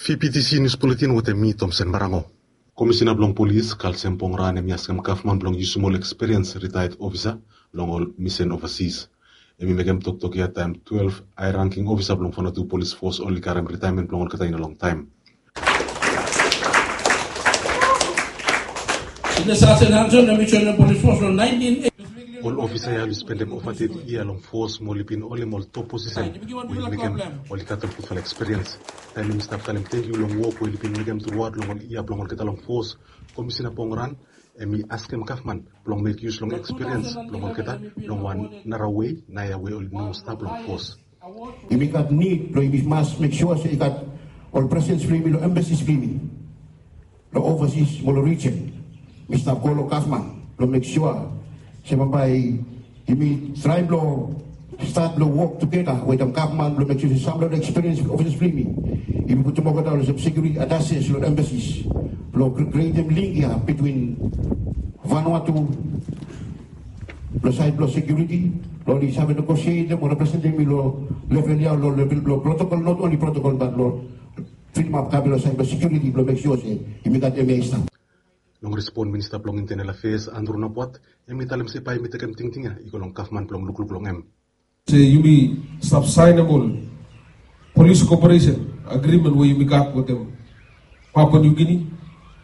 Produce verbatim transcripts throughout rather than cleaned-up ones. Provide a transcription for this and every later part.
P P T C News Bulletin wetem mi, Thompson Marango. Komisina blong polis, Kalsem Pongran, hem i askem gavman blong yusum ol ekspiriens ritaiad ofisa long ol misen ovasis. Hem i mekem toktok ia taem twelve hae rangking ofisa blong Vanuatu Polis Fos oli karem ritaemen blong olgeta i no longtaem. Ol ofisa ia oli spendem ova teti yia long fos mo oli bin holim ol top posisen we i mekem oli gat ol gudfala ekspiriens. Taem hem i stap talem tangkiu long wok we oli bin mekem truaot long ol yia blong olgeta long fos, Komisina Pongran hem i askem gavman blong mek yus long ekspiriens blong olgeta long wan nara wei naoia we oli no stap long fos. Yumi gat nid blong yumi mas mek sua se i gat ol presens blong yumi long embasis blong yumi long ovasis mo long rijen. Mi stap go long gavman blong mek sua se bambae yumi traem blong stat blong wok tugeta wetem gavman blong mek sua se sam long ekspiriens ofisas blong yumi, yumi putum olgeta olsem sekiuriti atases long embasis blong kri- krietem link ia bitwin Vanuatu long saed blong sekiuriti blong oli save negosietem o representem yumi long level ia long level blong protokol, not only protokol bat long filimap kabe long saed blong sekiuriti blong mek sua se yumi gat emia i stap. Long respon, Minista blong Intenel Afeas Andrew Napuat hem i talem se bae hem i tekem tingting ia i go long gavman blong lukluk long hem. Se yumi stap saenem ol polis koperesen agrimen we yumi gat wetem Papua New Guinea,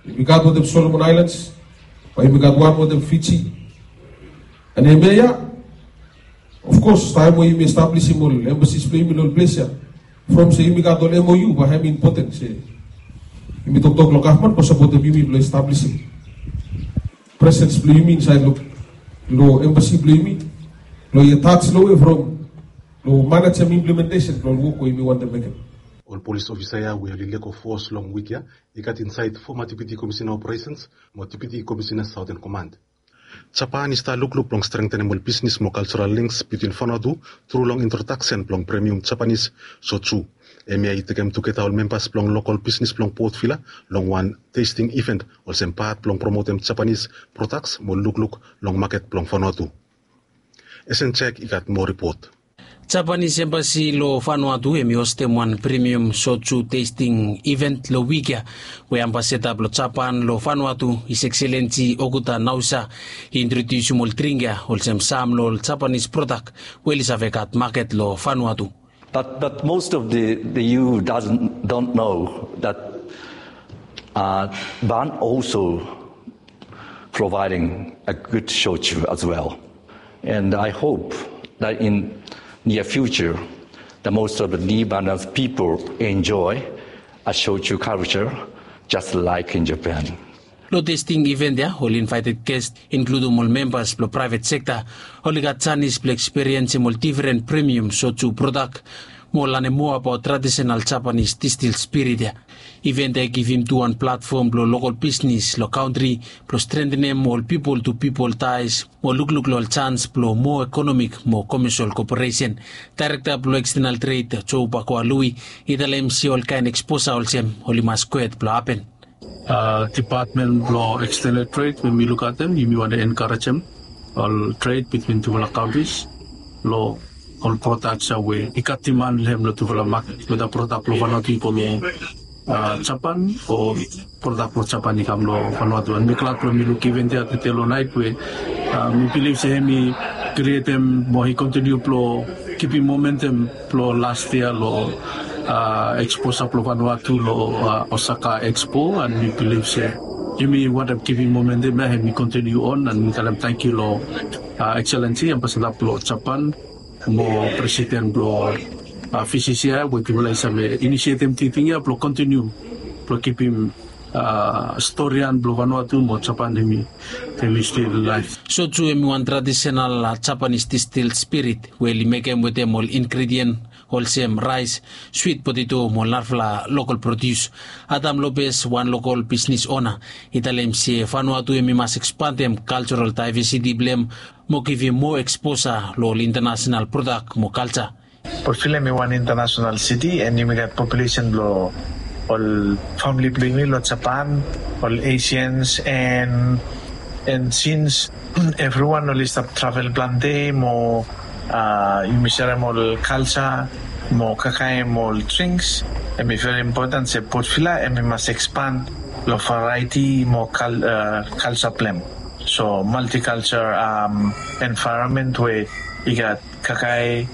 yumi gat wetem Solomon Islands, bae yumi gat wan wetem Fiji. An hemia ia, ofkos taem we yumi establisim ol embasis blong yumi long ol ples ia, from se yumi gat ol M O U, bae hem i impoten se yumi toktok long gavman blong sapotem yumi blong establisim presens blong yumi insaed long, long embasi blong yumi blong i atas long we from long manejem implementesen blong ol wok we yumi wantem mekem. Ol polis ofisa ia we oli lego fos long wik ia i gat insaed foma Deputi Komisina Operesens mo Deputi Komisina Saoten Komand. Japan i stap lukluk blong strengtenem ol bisnis mo kaljoral links bitwin Vanuatu tru long introdaksen blong premium Japanis soju. Hemia i tekem tugeta ol membas blong lokol bisnis blong Port Vila long wan testing event olsem pat blong promotem Japanis prodaks mo lukluk long maket blong Vanuatu. Esen Jack i gat moa ripot. Japanis embasi long Vanuatu hem i hostem wan premium soju testing event long wik ia, we ambasada blong Japan long Vanuatu, His Excellency Okuda Naosa, i introdiusim ol dring ia olsem sam long ol Japanis prodak we oli save gat maket long Vanuatu. But, but most of the, the E U doesn't, don't know that, uh, Van also providing a good shochu as well. And I hope that in near future, the most of the Nibanas people enjoy a shochu culture just like in Japan. Long testing event ia, ol invaeted ges, inkludum ol membas blong praevet sekta, oli gat janis blong ekspiriensim ol defren premium soju prodak mo lanem moa abaot tradisenal Japanis distil spirit ia. Event ia i givim tu wan platfom blong lokol bisnis long kantri blong strentenem ol pipol tu pipol taes mo lukluk long ol jans blong moa ekonomik mo komesol koperesen. Daerekta blong ekstenal tred, Joe Bakwa Lui, i talem se ol kaen eksposa olsem oli mas gohed blong hapen. Dipatmen blong ekstenal tred, we mi lukaotem, yumi wantem enkarejem ol tred bitwin tufala kantris long ol prodaks ia we i gat diman long hem long tufala maket, weda prodak blong Vanuatu i go long Japan o prodak blong Japan i kam long Vanuatu. An mi glad blong mi luk event ia tede long naet we mi bilif se hem i krietem mo i kontiniu blong kipim momentum blong las yia long eksposa blong Vanuatu long Osaka Expo, an mi bilif se yumi wantem kipim momentum ia hem i kontiniu on, an mi talem tangkiu long Excellency Ambasada blong Japan mo Presiden blong V C C I we tufala i save inisietem tingting ia blong kontiniu blong kipim storian blong Vanuatu mo Japan hem i, hem i stil laef. Soju hem i wan tradisenal Japanis distil spirit we oli mekem wetem ol ingredien olsem raes, swit poteto mo narafala lokol prodius. Adam Lopez, wan lokol bisnis ona, i talem se Vanuatu hem i mas ekspandem kaljoral daevesiti blong hem mo givim moa eksposa long ol intanasenal prodak mo kalja. Port Vila hem i wan intanasenal siti, an yumi gat populesen blong ol famili blong yumi long Japan, ol Asians, an, an sins evriwan oli stap travel plante mo, a, yumi serem ol kalja, Mo kakae mo ol drings, hemi veri impoten se Port Vila hemi mas ekspan long variety mo culture blem. So multiculture environment we i gat kakae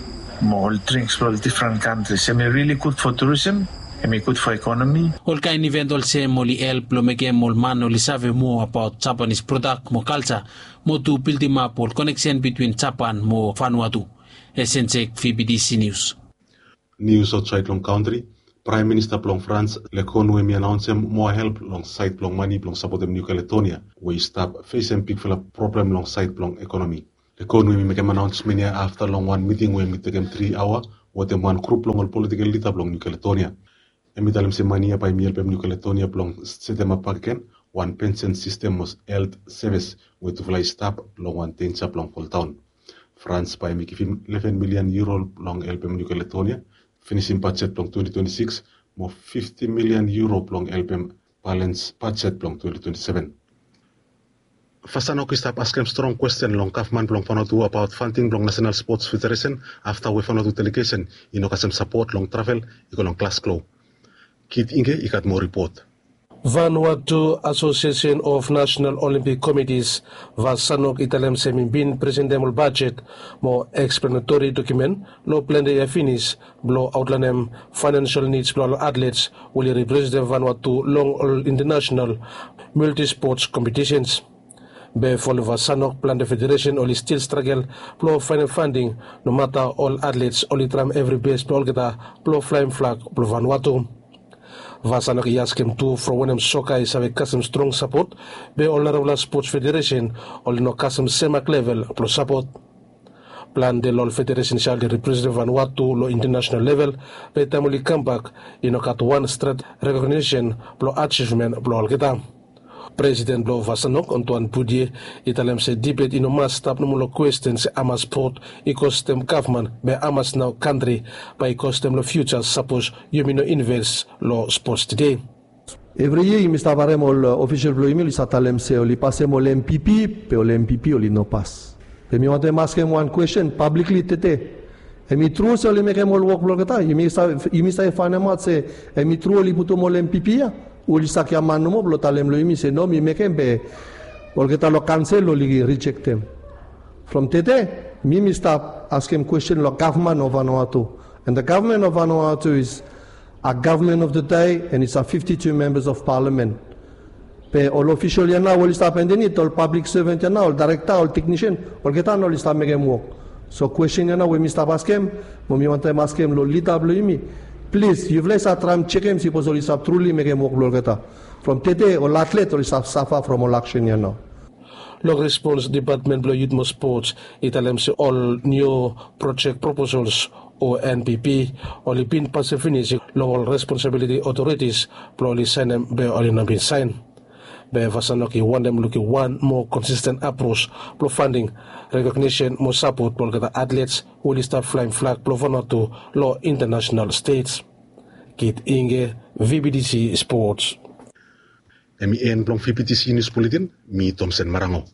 mo ol drings blong ol difren kantris, hemi rili gud fo turism, hemi gud fo ekonomi. Olkaen iven olsem oli help long mekem ol man oli save moa abaot Japanis prodak mo kalja, mo tu bildimap ol koneksen bitwin Japan mo Vanuatu. Esensek, V B T C News. Nius aotsaed long kantri. Praem Minista blong Frans, Lecornu, hemi anaonsem moa help long saed blong mane blong sapotem Niu Kaletonia we i stap fesem bigfala problem long saed blong ekonomi. Lecornu hemi mekem anaonsmen ya afta long wan miting we hemi tekem tri aoa wetem wan grup blong ol politikel lida blong Niu Kaletonia. Hemi talem se mane ya bae hemi helpem Niu Kaletonia blong setemap bakegen wan pensen sistem mo helt sevis we tufala i stap long wan denja blong foldaon. Frans bae hemi givim leven milian euro blong helpem Niu Kaletonia finisim bajet blong twenti twenti sikis, mo fifti milian euro blong helpem balens bajet blong twenti twenti seven. Vasanok i stap askem strong kwesten long gavman blong Vanuatu abaot fanding blong Nasenal Spots Federesen afta we Vanuatu delegesen i no kasem sapot long travel i go long Glasgow. Kit Inge i gat moa ripot. Vanuatu Association of National Olympic Committees, Vasanok, i talem se hemi bin presentem ol bajet mo eksplanatori dokumen long plante yia finis blong aotlaenem faenansial nids blong ol atlets we oli representem Vanuatu long ol intanasenal multispots kompetisens. Be folem Vasanok, plante federesen oli stil stragel blong faenem fanding, nomata ol atlets oli traem evri bes blong olgeta blong flaem flag blong Vanuatu. Vasanok i askem tu from wanem soka i save kasem strong sapot be ol narafala spots federesen oli no kasem semak level blong sapot. Plante long ol federesens ya oli representem Vanuatu long intanasenal level, be taem oli kambak i no gat wan stret rekognisen blong ajivmen blong olgeta. Presiden blong Vasanok, Antoine Boudier, i talem se dibet i no mas stap nomo long kwesten se hamas spot i kostem gavman be hamas nao kantri bae i kostem long fiuja sapos yumi no inves long spots tede. Evri yia yumi stap harem ol ofisol blong yumi oli stap talem se oli pasem ol M P P, be ol M P P oli no pas. Be mi wantem askem wan kwesten pablikli tede. Hemi tru se oli mekem ol wok blong olgeta? Yumi save faenemaot se hemi tru oli putum ol M P P ya? Oli stap giaman nomo blong talem long yumi se no, mi mekem be olgeta long kaonsel oli rijektem. From tede mi mi stap askem kwesten long gavman of Vanuatu. And the government of Vanuatu is a government of the day and it's a fifty-two members of parliament. Be ol ofisol ya nao oli stap andanit, ol pablik sevan ya nao, ol daerekta, ol teknisen, olgeta nao oli stap mekem wok. So kwesten ya nao we mi stap askem, mo mi wantem askem long lida blong yumi, plis yufala i save traem jekem sipos oli stap truli mekem wok blong olgeta. From tede ol atlet oli stap safa from ol aksen ya nao. Long respons, depatmen blong yut mo spots i talem se ol niu projek proposols o N P P oli bin pasem finis long ol responsabiliti otoritis blong oli saenem be oli no bin saen. Be Vasanok i wantem lukim wan moa konsisten apros blong fanding, rekognisen mo sapot blong olgeta atlets we oli stap flaem flag blong Vanuatu long intanasenal stej. Kit Inge, V B T C Spots. Hemi en blong V B T C Nius Buletin. Mi Tomsen Marango.